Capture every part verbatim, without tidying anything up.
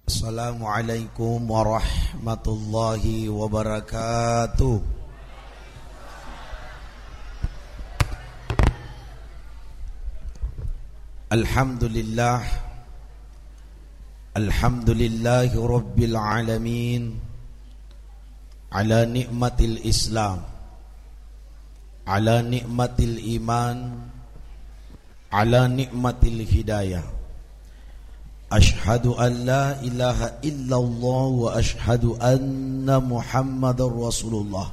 Assalamualaikum warahmatullahi wabarakatuh. Alhamdulillah. Alhamdulillahi rabbil alamin. Ala ni'matil Islam. Ala ni'matil iman. Ala ni'matil hidayah. Asyhadu an la ilaha illallah wa asyhadu anna Muhammadar Rasulullah.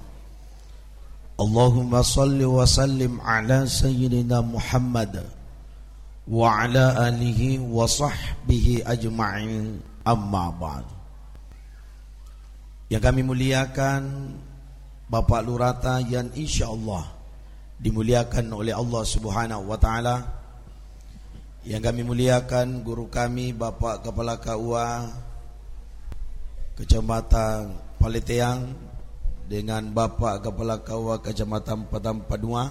Allahumma salli wa sallim ala sayyidina Muhammad wa ala alihi wa sahbihi ajma'in, amma ba'd. Yang kami muliakan Bapak Lurata yang insyaallah dimuliakan oleh Allah Subhanahu wa Ta'ala. Yang kami muliakan guru kami, Bapak Kepala K U A Kecamatan Paleteang, dengan Bapak Kepala K U A Kecamatan Padang Padua.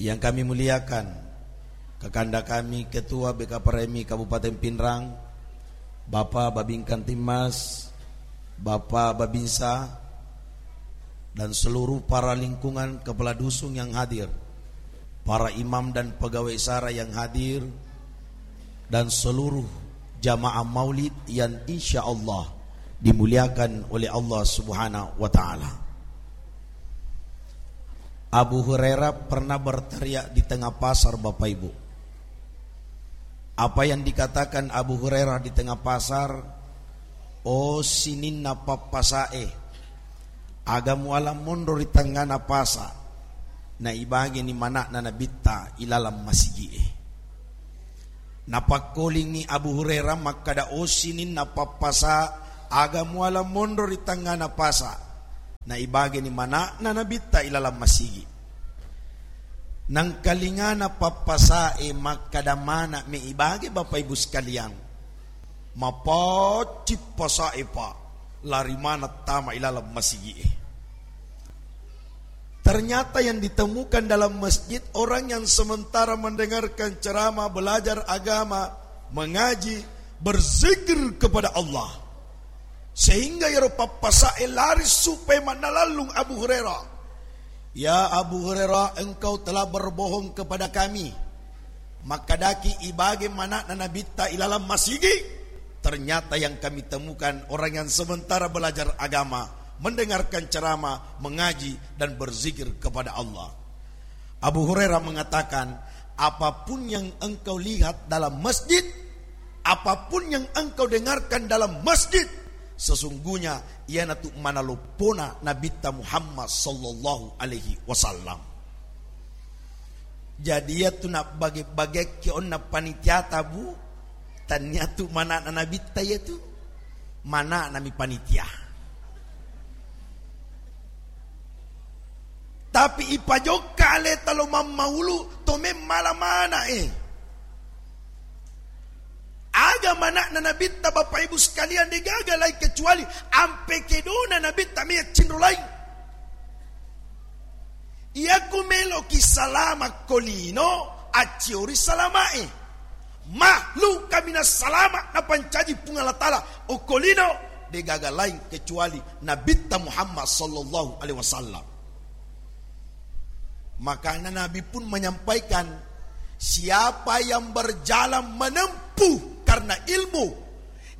Yang kami muliakan, kakanda kami, Ketua B K P R M I Kabupaten Pinrang, Bapak Babin Kamtibmas, Bapak Babinsa, dan seluruh para lingkungan kepala dusun yang hadir, para imam dan pegawai syara yang hadir, dan seluruh jamaah maulid yang insya Allah dimuliakan oleh Allah Subhanahu wa Ta'ala. Abu Hurairah pernah berteriak di tengah pasar, Bapak Ibu. Apa yang dikatakan Abu Hurairah di tengah pasar? "O sininna pappasae, aga muala monro ri tengngana pasa, na ibageni mana'na Nabitta ilalang masigi'e." Napakkolingngi Abu Hurairah makkada, "O sininna pappasa, aga muala monro ri tengngana pasa, na ibageni mana'na Nabitta ilalang masigi." Nangkalingana pappasae makkada, "Mana me ibage, Bapak Ibu sekalian?" Mapaccing pasae, Pak, lari maneng tama ilalang masigi'e. Ternyata yang ditemukan dalam masjid orang yang sementara mendengarkan ceramah, belajar agama, mengaji, berzikir kepada Allah. Sehingga iyaro pappasae lari supaya mannalallung Abu Hurairah. "Ya Abu Hurairah, engkau telah berbohong kepada kami. Makkadaki ibage mana'na Nabitta ilalang masigi? Ternyata yang kami temukan orang yang sementara belajar agama, mendengarkan ceramah, mengaji, dan berzikir kepada Allah." Abu Hurairah mengatakan, "Apapun yang engkau lihat dalam masjid, apapun yang engkau dengarkan dalam masjid, sesungguhnya iyanatu manaloppona Nabitta Muhammad sallallahu alaihi wasallam." Jadi, iyatu nabbage-bagekki onna panitiata, Bu, taniatu mana'na Nabitta iyatu, mana'nami panitia. Tapi ipajokka aleta lo mammaulu, to memmala mana'e. Aga mana'na Nabitta, Bapak Ibu sekalian, degaga lain kecuali ampe kedona Nabitta meyaccinro lain. Iyaku meloki salama ko lino, acciori salamae. Makhluk kaminang salama napancaji Puang Allah Ta'ala okko lino, degaga lain kecuali Nabitta Muhammad sallallahu alaihi wasallam. Makanya Nabi pun menyampaikan, siapa yang berjalan menempuh karena ilmu,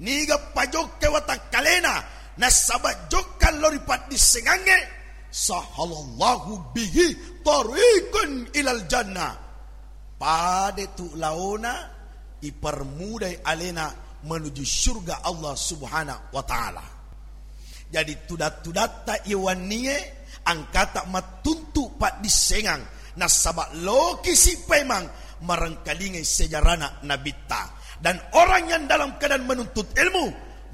niga pajokka watakkalena, nasaba jokka lao ri paddissengangnge, sahalallahu bihi tariqan ilal jannah. Pada tu laona, ipermudai alena menuju surga Allah Subhanahu wa Ta'ala. Jadi, tudat-tudatta iwannie angkata mattuntu paddissengang, nasaba loki si paimeng marengkalingai sejarana Nabitta. Dan orang yang dalam keadaan menuntut ilmu,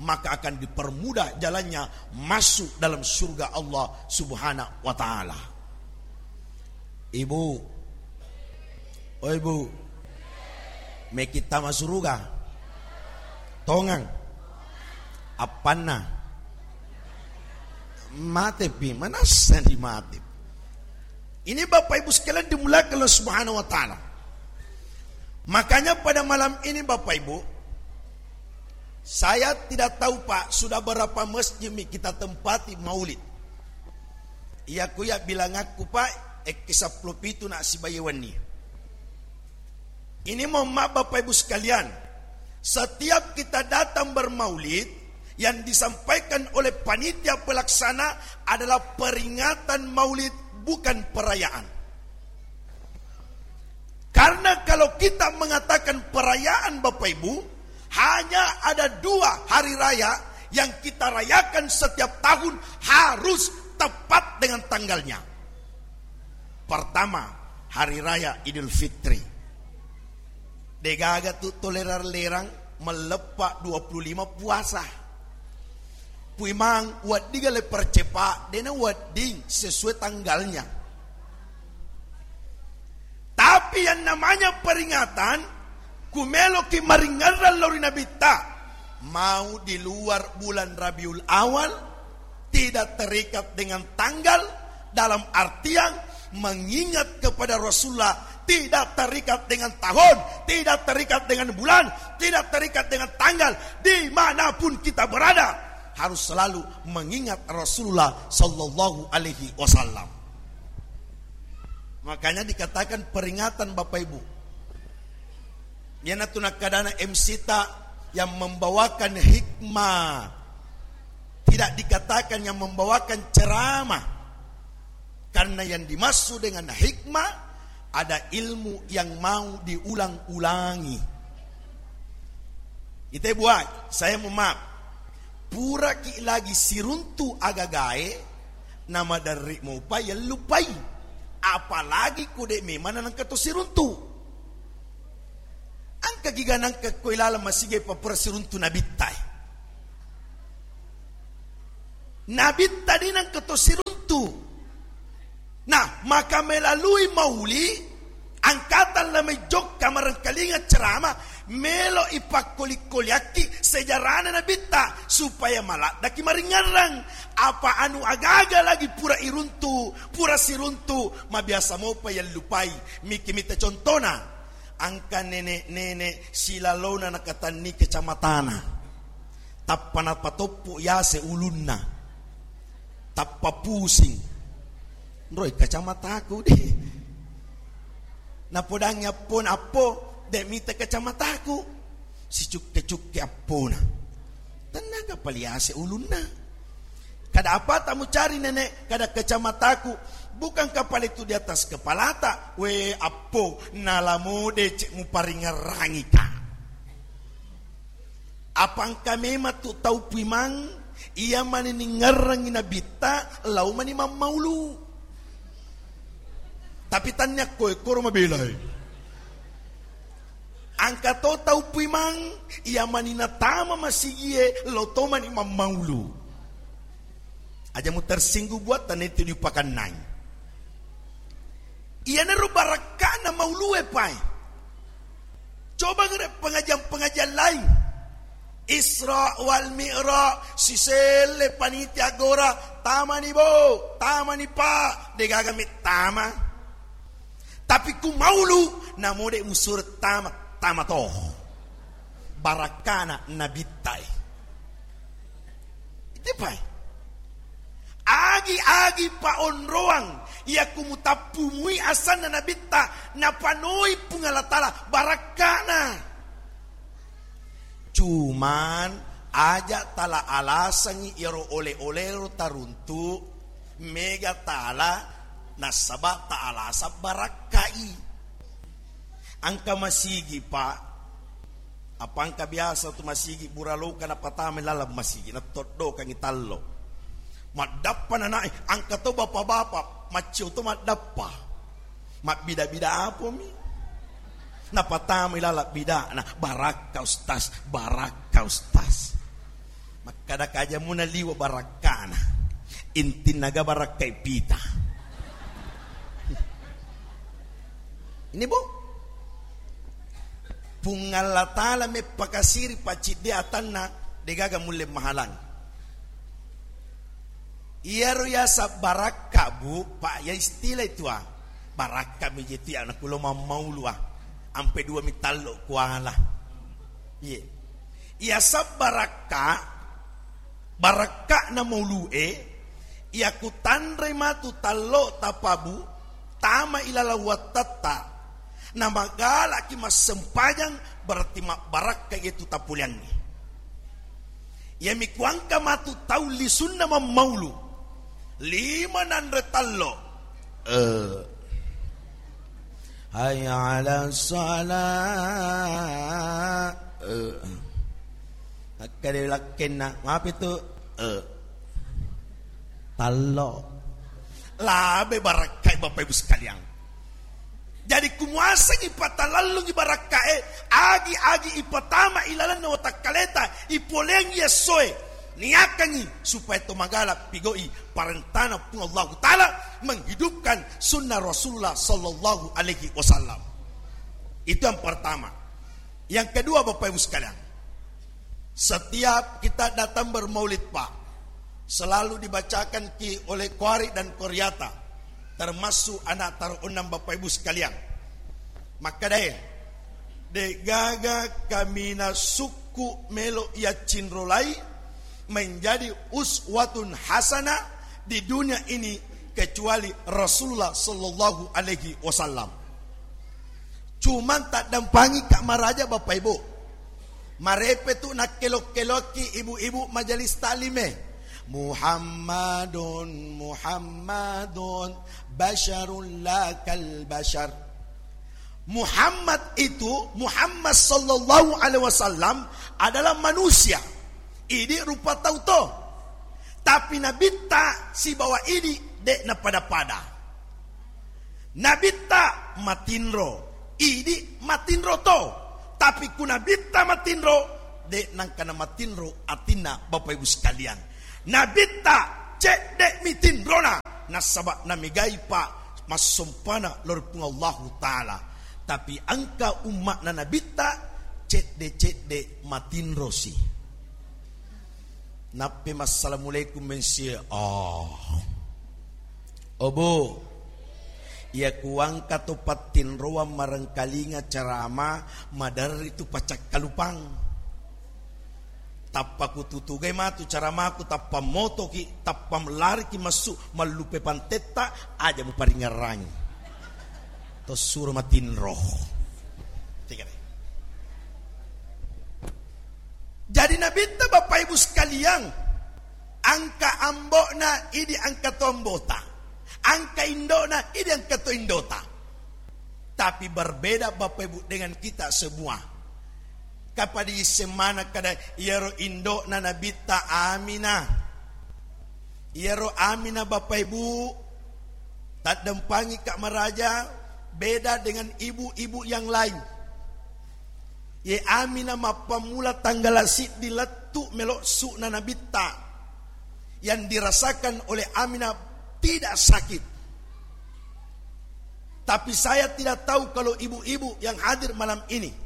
maka akan dipermudah jalannya masuk dalam surga Allah Subhanahu wa Ta'ala. Ibu, oi Bu, meki tama suruga? Tongang. Appanna? Matepi, manassa di mate. Ini Bapak Ibu sekalian dimuliakan Allah Subhanahu wa Ta'ala. Makanya pada malam ini Bapak Ibu, Saya tidak tahu, Pak, sudah berapa masjid mi kita tempati maulid. Iya ku iya bilangakku, Pak, ekke seppulo pitu na sibawa wenni. Ini mohon maaf, Bapak Ibu sekalian, setiap kita datang bermaulid, yang disampaikan oleh panitia pelaksana adalah peringatan maulid, bukan perayaan. Karena kalau kita mengatakan perayaan, Bapak Ibu, hanya ada dua hari raya yang kita rayakan setiap tahun, harus tepat dengan tanggalnya. Pertama, hari raya Idul Fitri. Degaga tu tolerang-lerang melleppa dua puluh lima puasa. Puimang, wedding le percepat, dena wedding sesuai tanggalnya. Tapi yang namanya peringatan, kumeloki maringerrang lao ri Nabitta, mau di luar bulan Rabiul Awal, tidak terikat dengan tanggal, dalam artian mengingat kepada Rasulullah, tidak terikat dengan tahun, tidak terikat dengan bulan, tidak terikat dengan tanggal, dimanapun kita berada, harus selalu mengingat Rasulullah sallallahu alaihi wasallam. Makanya dikatakan peringatan, Bapak Ibu. Iyanatu nakkadana M C ta yang membawakan hikmah. Tidak dikatakan yang membawakan ceramah. Karena yang dimaksud dengan hikmah, ada ilmu yang mau diulang-ulangi. Ite buat, saya mohon maaf. Puraki lagi siruntu agagae, namaderri mopa yellupai. Apalagi ko de memang nangka to siruntu. Engka giga nangka ko ilalang masigi papura siruntu Nabitta e. Nabitta de nangka to siruntu. Nah, maka melalui mauli, angkatang la mai jokka marengkalinga ceramah, melo ipakkoli-koliakki sejarana Nabitta, supaya maladdaki maringerrang. Apa anu agaga lagi pura iruntu, pura siruntu, mabiasa mopa yellupai. Miki mita contona, angka nenek-nenek silalona nakatanni kacamatana. Tappa napatoppo yase ulunna. Tappa pusing. Nroi kacamataku de. Napodangi appona, "Appo, de mita kacamataku." Sicukke-cukke appona. Tennaga paliase ulunna. "Kada apa tamu cari, Nenek?" "Kada kacamataku." "Bukankah pale tu di atas kepalata?" "We, appo, nalamo decek muparingerrangika." Apa engka memang tu tau puimang, iya mani ningerrangi Nabitta, lao mani mammaulu. Tapi tannia koe koro mabelai. Angka to tau puimang, iya mani natama masigie, lao to mani mammaulu. Aja mu tersinggung buat tanettu diupakannai. Iyanaro barakkana maulue pae. Coba gere pengajian-pengajian lain. Isra wal Mi'raj, siselle panitia gora, "Tamani, Bo, tamani, Pak." Degaga mettama. Tapi ku maulu, namode musur tama, tama toho. Barakkana Nabitta e. Itepai. Agi-agi paonroang, iya ku mutappumui asanna Nabitta, napanoi Puang Allah Taala barakkana. Cuman, aja tala alasangi iyaro ole-olero taruntu, mega tala nasaba ta alasang barakkai. Angka masigi, Pak. Apa engka biasa tu masigi buraloka napatamai laleng masigi, nattoddokangi tallo. Maddappa nanae, angka to bapa-bapa, maccio to maddappa. Mabbida-bida apomi? Napatamai laleng bidana, "Barakka, Ustaz, barakka, Ustaz." Makkada kaja muna liwa barakkana. Intinna ga barakkai pita. Ini, Bu. Puang Allah Taala meppakasiri pacciddi atanna, degaga mulle mahalang. Iyaro yaseng barakka, Bu, Pak, ya istilah itu, ah. Barakka mi je tu ya, nakulo mammaulu, ah. Ampe dua mi tallo kuala. Iye. Iyaseng barakka, barakka'na maulu'e, iya kutanrei matu tallo tapabu, tama ilaleng wattatta, namagalaki massempajang, berarti mabbarakka itu tapuliangngi. Iyami kuangka matu tau lisunna mammaulu, lima nanre tallo. Eh. Hayya 'alas shalah. Eh. Akkade lakkenna, mapi tu? Eh. Tallo. Labe barakkai Bapak Ibu sekalian. Jadi kumuasengi patalallungi barakkae, agi-agi ipatama ilalenna watakkaleta, ipoleangi essoe, niakangi supaya to magala pigoi parentana Puang Allahu Ta'ala, menghidupkan sunnah Rasulullah sallallahu alaihi wasallam. Itu yang pertama. Yang kedua, Bapak Ibu sekalian, setiap kita datang bermaulid, Pak, selalu dibacakan ki oleh qari dan qariata, termasuk anak taruh enam Bapak Ibu sekalian. Makkadae, degaga kaminang sukku melo yaccinrolai menjadi uswatun hasanah di dunia ini kecuali Rasulullah sallallahu alaihi wasallam. Cuman taddampangi ka maraja Bapak Ibu. Marepe tu nakkelo-keloki ibu-ibu majelis taklime. Muhammadun, Muhammadun, basyarun la kal basyar. Muhammad itu, Muhammad sallallahu alaihi wasallam adalah manusia. Idi rupa tau to. Tapi nabitta sibawa idi de napada-pada. Nabitta matinro, idi matinro to. Tapi ku nabitta matinro, de nangkana matinro atinna Bapak Ibu sekalian. Nabitta cedde mitinrona, nasaba namegaipa massompana lori Puang Allahu Ta'ala. Tapi engka umma'na nabitta cedde-cedde matinrosi. Nappe massalamualaikum mensie. Oh. Obo. Iya kuangka to pattinroang marengkalinga ceramah, maderri tu pacakkalupang. Tappa kututugai matu ceramahku, tappa motoki, tappa lariki massu mallupe pantetta, aja muparingerrangi. To suro matinro. Tiga deh. Jadi nabitta Bapak Ibu sekalian, angka ambokna idi angka to ambota, angka indokna idi angka to indota. Tapi berbeda Bapak Ibu dengan kita semua. Kapadi semana kada iyaro indokna nabitta Aminah. Iyaro Aminah Bapak Ibu, taddempangi ka maraja, beda dengan ibu-ibu yang lain. Ye Aminah mappammula tanggala siddi lettu melo su'na nabitta yang dirasakan oleh Aminah tidak sakit. Tapi saya tidak tahu kalau ibu-ibu yang hadir malam ini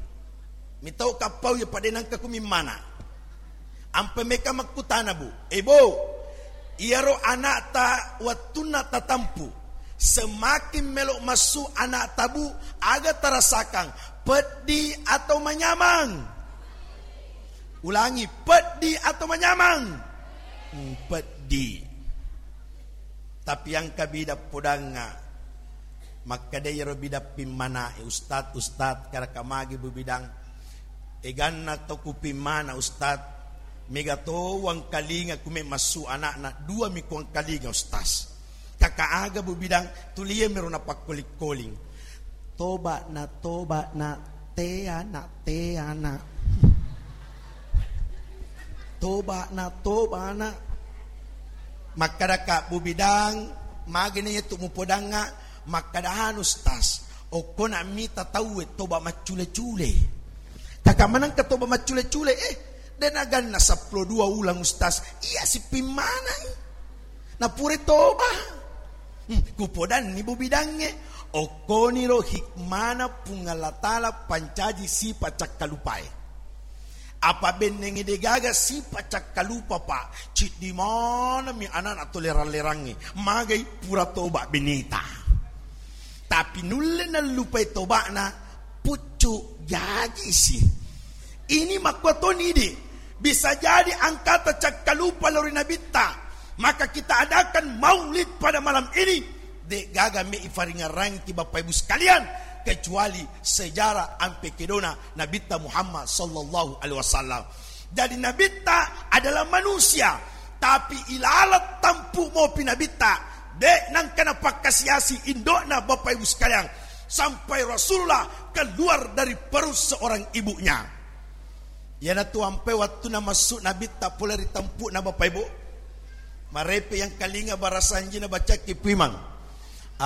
mitau kappau ya pada nangka kumimmana. Ampe meka makkutana, Bu. Eh, Bu, iyaro anakta wettunna tatampu, semakin melo massu anakta, Bu, aga tarasakang, peddi atau manyamang? Ulangi, peddi atau manyamang? Hmm, peddi. Tapi engka bidang podangnga. Makkeda iyaro bidang pimmanae, "Ustad, Ustad, kadaka magi Bu Bidang? Eganna to kupimmana, Ustad. Mega to wangkalinga kume massu anakna, dua mi kuangkalinga, Ustaz." "Kaka aga, Bu Bidang?" "Tulie miro napakkoling-koling. Tobana, tobana, teana, teana. Tobana, tobana." Makkadaka, "Bu Bidang, magena yetu mupodangnga?" Makkada, "Anu, Ustaz, okkona mita tauwe toba maccule-cule." "Kaka manengka toba maccule-cule?" "Eh, dena ganna seppulo dua ulang, Ustaz." "Iya, sipimmanai. Napure toba." Hmm, kupodanni, Bu Bidangnge, okkoniro hikmana Puang Allah Ta'ala pancaji sipa cakkalupae. Apa bennengnge degaga sipa cakkalupa, Pak. Ciddi manami anana to lerang-lerangnge. Magai pura toba beneta. Tapi nulle nallupai tobana, puccu jajisi. Ini makkuatoni idi, bisa jadi engkata cakkalupa lao ri Nabitta, maka kita adakan maulid pada malam ini. De gaga me ifaringarangki, Bapak Ibu sekalian, kecuali sejarah ampe kedona Nabitta Muhammad sallallahu alaihi wasallam. Jadi Nabitta adalah manusia, tapi ilalat tampu mopi Nabitta, de nangka napakkasiasi indokna, Bapak Ibu sekalian, sampai Rasulullah keluar dari perut seorang ibunya. Iyanatu ampe wattunna massu Nabitta pole ri tampu'na, Bapak Ibu, marepe yang kalinga barasanjina bacakki puimang.